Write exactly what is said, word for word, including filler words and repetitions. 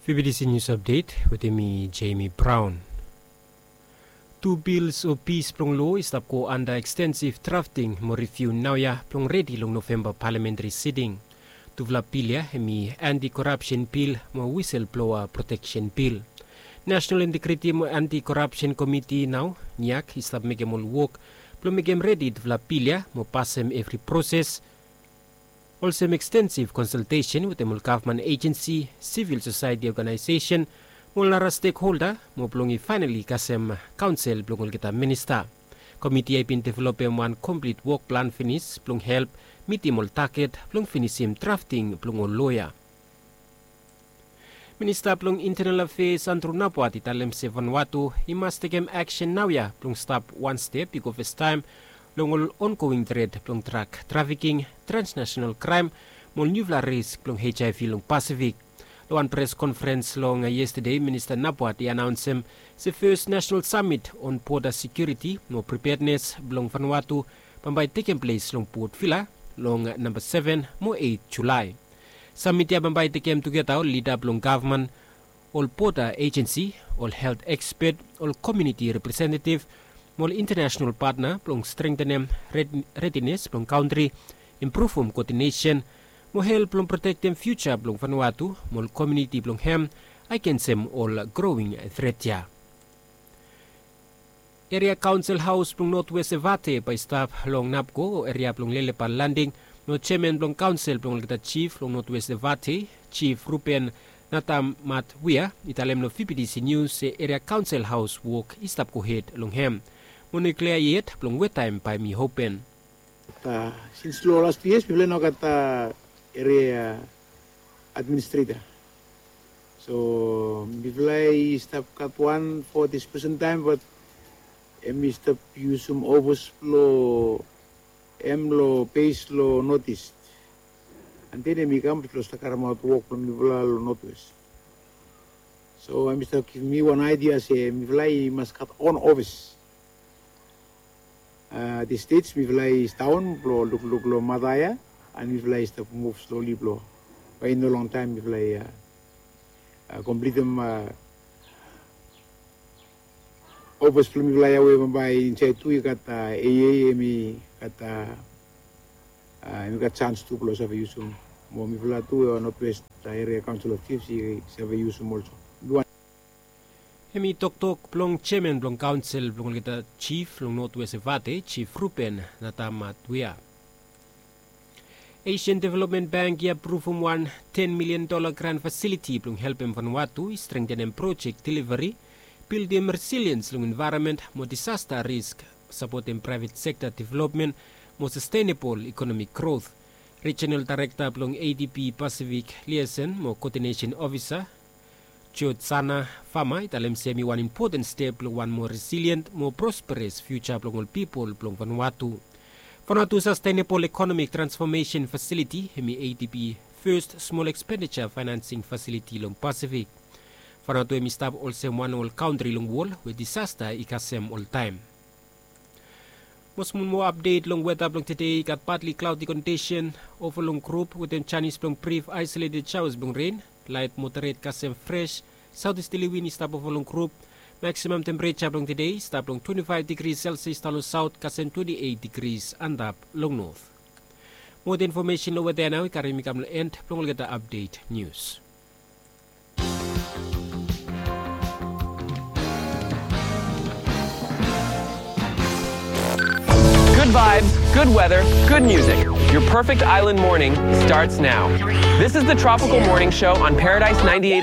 Vbtc News Update wetem mi, Jamie Brown. Tu bils o pis blong loa i stap go anda ekstensif drafting mo riviu naoia blong redi long Novemba palamentari siting. Tufala bil ia hem i anti-korapsen bil mo wiselbloa proteksen bil. Nasenal Integriti mo Anti-Korapsen Komiti nao, NEAK, i stap mekem ol wok blong mekem redi tufala bil ia mo pasem evri proses, olsem ekstensif konsaltesen wetem ol gavman ejensi, sivil sosaeti oganaesesen mo ol nara stekholda, mo blong i faenali kasem kaonsel blong olgeta minista. Komiti ia i bin developem wan komplit wok plan finis blong help mitim ol taget blong finisim drafting blong ol loa ia. Minista blong Intenal Afeas Andrew Naboat i talem se Vanuatu i mas tekem aksen naoia blong stap wan step i go fastaem long ol ongoing tret blong drag trafiking, transnasenal kraem mo ol niufala risk blong HIV long Pasifik. Long wan pres konferens long yestade, Minista Naboat i anaonsem se fes nasenal samit on boda sekiuriti mo pripednes blong Vanuatu bambae i tekem ples long Port Vila long namba seven mo eit Julae. Samit ia bambae i tekem tugeta ol lida blong gavman, ol boda ejensi, ol helt ekspet, ol komuniti representetiv mo ol intanasenal patna blong strengtenem redines blong kantri, impruvum koodinesen mo help blong protektem fiuja blong Vanuatu mo ol komuniti blong hem agensem ol growing tret ia. Eria Kaonsel Haos blong Notwes Evate bae i stap long NAPCO o eria blong Lelepa Landing, mo jeaman blong kaonsel blong olgeta jif long Notwes Evate, Jif Ruben Natamatwia, i talem long Vbtc Nius se Eria Kaonsel Haos wok i stap gohed long hem. Mo no i klia yet blong we taem bae hem i open. Sins long las tu yias mifala i no gat eria administreta. So mifala i stap gat wan fo dis presen taem, bat hem i stap yusum ofis blong hem long bes long North East. An den hem i kam blong stap karemaot wok blong mifala long North West. So hem i stap givim mi wan aidia se mifala i mas gat on ofis. Dis stej mifala i sidaon blong lukluk long mata ia, an mifala i stap muv sloli blong bae i no longtaem mifala i komplitim ofis blong mifala ia we bambae insaed tu i gat AA, hem i gat hem i gat sans tu blong save yusum. Mo mifala tu North West Area Council of Chiefs i save yusum olso. Hem i toktok blong jeaman blong kaonsel blong olgeta jif long North West Evate, Jif Ruben Natamatwia. Asian Development Bank i apruvum wan ten milian dola gran fasiliti blong helpem Vanuatu i strengtenem projek deliveri, bildim resiliens long envaeronmen mo disasta risk, sapotem praevet sekta developmen mo sastenebol ekonomik grot. Rijinal daerekta blong ADB Pasifik Liason mo Koodinesen Ofisa, George Sana Fama, i talem se hem i wan impoten step long wan moa resilien mo prosperes fiuja blong ol pipol blong Vanuatu. Vanuatu Sastenebol Ekonomik Transfomesen Fasiliti hem i ADB fes smol ekspendija faenansing fasiliti long Pasifik. Vanuatu hem i stap olsem wan long ol kantri long wol we disasta i kasem oltaem. Mo smol moa apdet long weta blong tede. I gat patli klaodi kondisen, ova long grup wetem janis blong brif aesoleted shaoas blong ren, laet moderet kasem fres saotisterli win i stap ova long grup. Maksimam tempereja blong tede i stap long twenti faef digri selsias daon long saot kasem twenti eit digri antap long not. Moa infomesen long weta ia nao i karim mi kam long en blong olgeta apdet nius. Good vibes, good weather, good music. Your perfect island morning starts now. This is the Tropical Morning Show on Paradise ninety-eight